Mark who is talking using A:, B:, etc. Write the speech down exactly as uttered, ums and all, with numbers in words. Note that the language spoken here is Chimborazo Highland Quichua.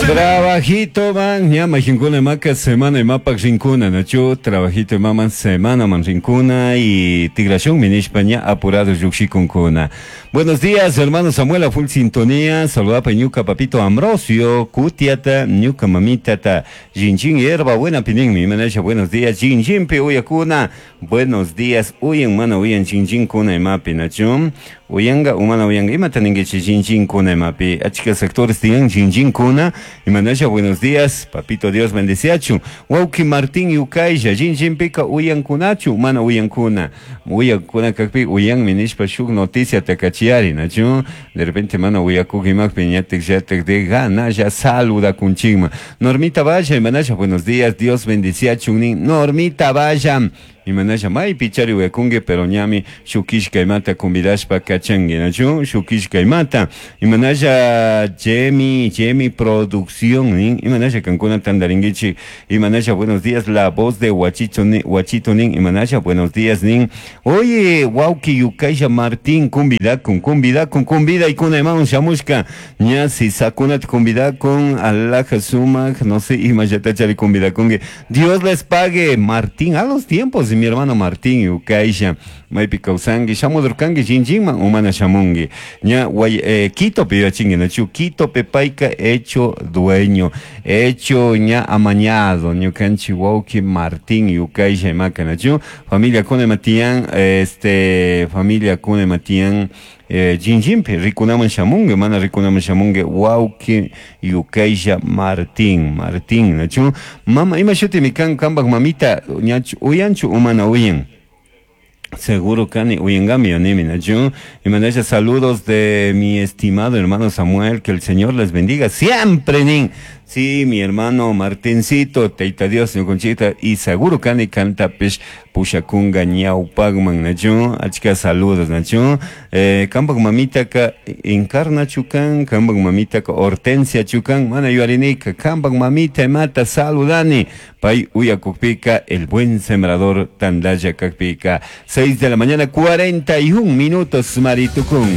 A: Trabajito man, ña jinkuna maka semana imapak rinkuna, nachu trabajito maman semana man rinkuna y tigrashun minishpa ña apurado llukshikunkuna. Buenos días, hermano Samuel, a full sintonía. Saluda ñuka papito Ambrosio, kutiata, ñuka mamitata, Jinjin hierba buena pininmi, imanasha, buenos días, Jinjin pe uyakuna. Buenos días, uyan mana uyan jinjin kuna imapi, nachu. Uyanga, umana uyanga, imata ninguichi jinjin kuna imapi. Achka sectores tiyan jinjin kuna. Imanasha, buenos días, papito Dios bendeciachu. Wauki Martín Yukaylla, jinjin pika uyan kunachu, mana uyan kuna. Uyan kuna kakpi, uyan minishpa shuk noticia takachiari, nachu. De repente mana uyakuk imakpi, ñatek yatek de gana, ya saluda kunchigma. Normita Valla, imanasha, buenos días, Dios bendeciachu, Normita Valla. Imanasha maypi chari uyakunki pero ñami shukishka imata convidashpa kachanki nachu shukishka imata imanasha Jemi Jemi producción nin imanasha kankuna tandarinkichik imanasha buenos días la voz de Huachito nin Huachito nin imanasha buenos días nin oye wawki Yukaylla Martín convidakun convidakun convidaykuna imawan shamushka ña sisakunata convidakun alhaja sumak no sé imallatachari convidakunki Dios les pague Martín a los tiempos mi hermano Martín Yukaylla maypi kawsanki shamudurkanki Jinjinman umana shamunki ña guay eh, Quito pi yachinki nachu Quito pe payka hecho dueño hecho ña amañado ñukanchik wawki Martín Yukaylla imaka nachu familia kuna imatiyan este familia kuna imatiyan eh, Jinjinpi rikunaman shamunki mana rikunaman shamunki wawki Yukaylla Martín Martín nachu mama ima shutimi kan kanpak mamita ñachu uyanchu umana uyan Seguro kani uyangami animi nachu imanasha saludos de mi estimado hermano Samuel, que el Señor les bendiga siempre nin. Sí, mi hermano Martincito, Teita Dios, señor Conchita, y seguro kani kantapish pushakunga ñawpakman nachu, achka saludos nachu. Eh, kampak mamitaka Encarna chukan, kampak mamitaka Hortensia chukan, mana yuarinika, kampak mamita imata saludani, pay uyakukpika, el buen sembrador tandalla kakpika. Seis de la mañana, cuarenta y un minutos, Maritukun.